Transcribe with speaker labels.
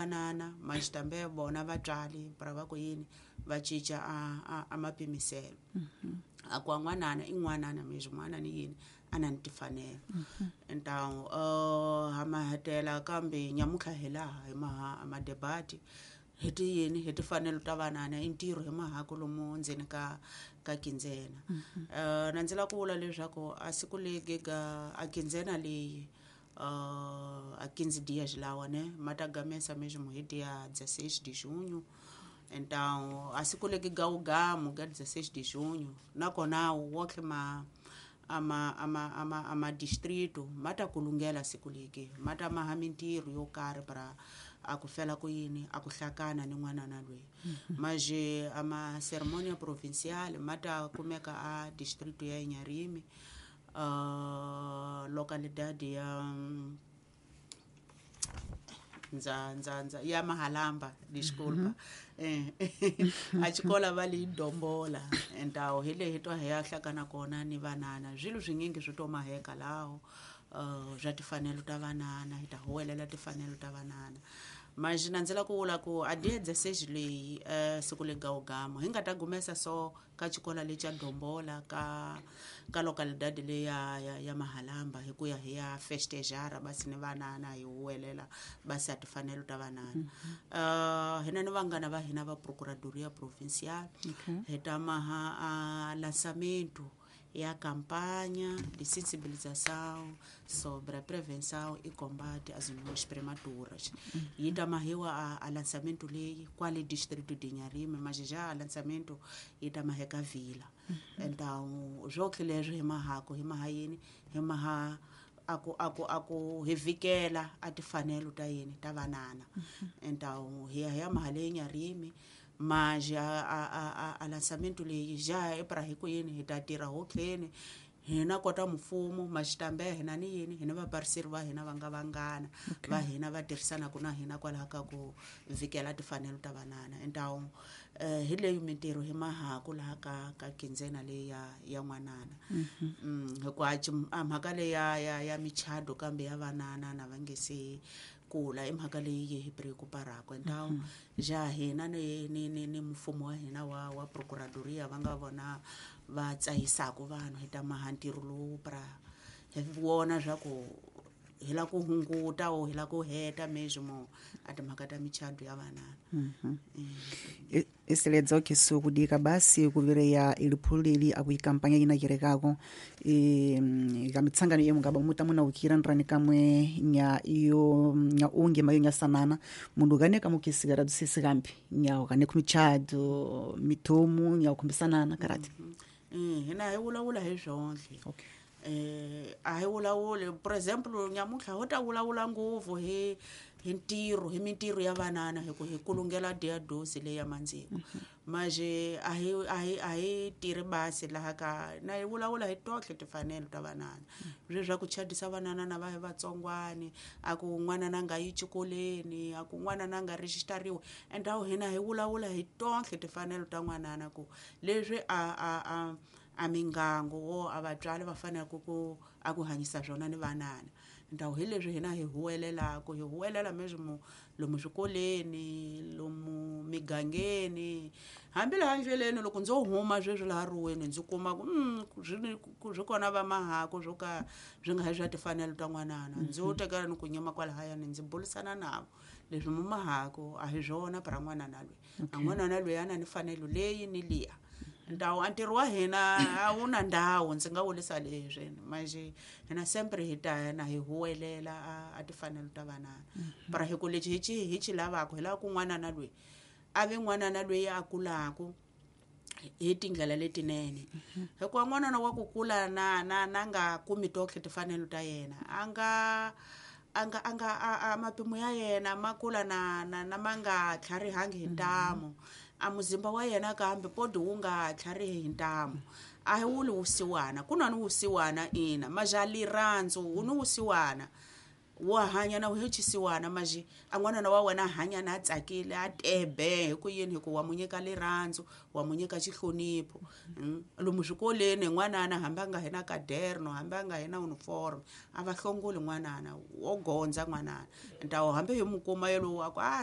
Speaker 1: Manana maxitambe vona vatswari para va ku yini va cinca a mapimiselo a ku n'wanana i n'wanana mexi n'wana ni yini a na ni timfanelo. Então ha ma hetela kambe nyamuntlha hi laha hi maha a madebati hi ti yini hi timfanelo ta vanana i ntirho hi mahako lomu ndzeni ka kindzena. Na ndzi lava ku vula leswaku a siku legi ga a kindzena leyi a 15 dias lawa ne ma ta gamesa mesmo hi dia 16 de junho. Então a siku legi ga ugamu ga 16 de junho nakona woke ma ama distrito ma ta kulungela siku legi ma ta maha mintirho yo karhi para a ku fela ku yini a ku hlakana ni n'wanana loyi. Maje ama ceremonia provincial ma ta kumeka a distrito ya Inharime, localidade ya ndza ya Mahalamba, desculpa, a xikola va li Dombola. Então hi lehi twa hi ya hlakana kona ni vanana swilo swinyingi swi to maheka laho swa timfanelo ta vanana hi ta huwelela timfanelo ta vanana. Mas na ndzi lava ku vula ku a dia 16 leyi siku le gawugama hi nga ta gumesa so ka xikola lexa Dombola ka localidade leyi ya Mahalamba hi ku ya hi ya festejara basi ni vanana hi huwelela basi a timfanelo ta vanana. Hina ni vanghana va hina va Procuradoria Provincial hi ta maha a lançamento ya campanha de sensibilização sobre a prevenção e combate às uniões prematuras. Yi ta mahiwa a lançamento leyi kwale distrito de Inharime, mas já a lançamento yi ta maheka vila. Então swokhe leswi hi mahako hi maha yini hi maha a ku hi vikela a timfanelo ta yini ta vanana. Então hi ya hi ya maha leyi Inharime, mas a lançamento leyi já é para hi ku yini hi ta tirha hotleni hina kota mfumo maxitambe hina ni yini hina vapariseri va hina va nga vanghana va hina va tirhisanaka na hina kwalaho ka ku vikela timfanelo ta vanana. Então hi leyi mintirho hi mahaku laha ka kindzena leyi ya n'wanana. Hikuva a mhaka leyi ya michado kambe ya vanana na va nge se kula i mhaka leyi yi hi preocuparaka. Então ja hina ni mfumo wa hina wa procuradoria va nga vona va tsahisaka vanhu hi ta maha ntirho lowu pra hi vona swa ku hi lava ku hunguta o hi lava ku heta mesmo a timhaka ta michado ya vanana.
Speaker 2: Isiledza okhisu kudika basi kuvireya iliphulu akuikampanya ina kirekako kamitsangano iyo mungaba muta munaukira nrani kamwe nya iyo nya unge mayo nya sanana mundu kane kamukhisikara tusisi kambi nya ukane kumichado mithomu nya ukhumbisanana karati.
Speaker 1: Hina hi vulavula hi swonhle.
Speaker 2: Okay.
Speaker 1: A hi vulavuli, por exemple nyamuntlha ho ta vulavula ngopfu hi ntirho hi mintirho ya vanana hi ku hi kulungela dia dosi leyi ya mandziko. Maje a hi tirhi basi laha ka na hi vulavula hi tohle timfanelo ta vanana leswi swa ku chadisa vanana na va hi vatsongwani a ku n'wana na nga yi xikolweni a ku n'wana na nga rejistariwi. Endawu hina hi vulavula hi tohle timfanelo ta n'wanana ku leswi a mingango wo a vatswari va faneleke ku a ku hanyisa swona ni vanana. Ndhawu hi leswi hina hi huwelelaka hi huwelela mesmo lomu swikoleni lomu migangeni hambi laha ndleleni loko ndzo huma sweswi laha ruweni ndzi kuma ku swi kona va mahako swo ka swi nga hi swa timfanelo ta n'wanana ndzo tekela ni ku nyima kwalahayani ndzi burisana navo leswi mu mahako a hi swona para n'wanana loyi a n'wanana loyi a na ni mfanelo leyi ni liya. Ndhawu a ntirho wa hina a wu na ndhawu ndzi nga vurisa leswi manje hina sempre hi ta na hi huwelela a timfanelo ta vanana para hi ku lexi hi xi lavaka hi lava ku n'wanana loyi a vi n'wanana loyi a kulaku hi tindlela letinene hikuva n'wanana wa ku kula na nga kumi tohle timfanelo ta yena a nga a mapimo ya yena ma kula na ma nga tlharihangi hi ntamu a muzimba wa yena kambe podi wu nga tlharihi hi ntamu a hi wuli wusiwana ku na ni wusiwana ina maja lirhandzu wu ni wusiwana. Wa hanya na hi chisiwana maji a n'wanana wa wena a hanya na a tsakile a tebe hi ku yini hi ku wa mu nyika lirhandzu wa mu nyika xihlonipho. Lomu swikolweni n'wanana hambi a nga hi na kaderno hambi a nga hi na uniform a va hlongoli n'wanana wo gondza n'wanana ntawo hambi hi mu kuma yalowo a ku a.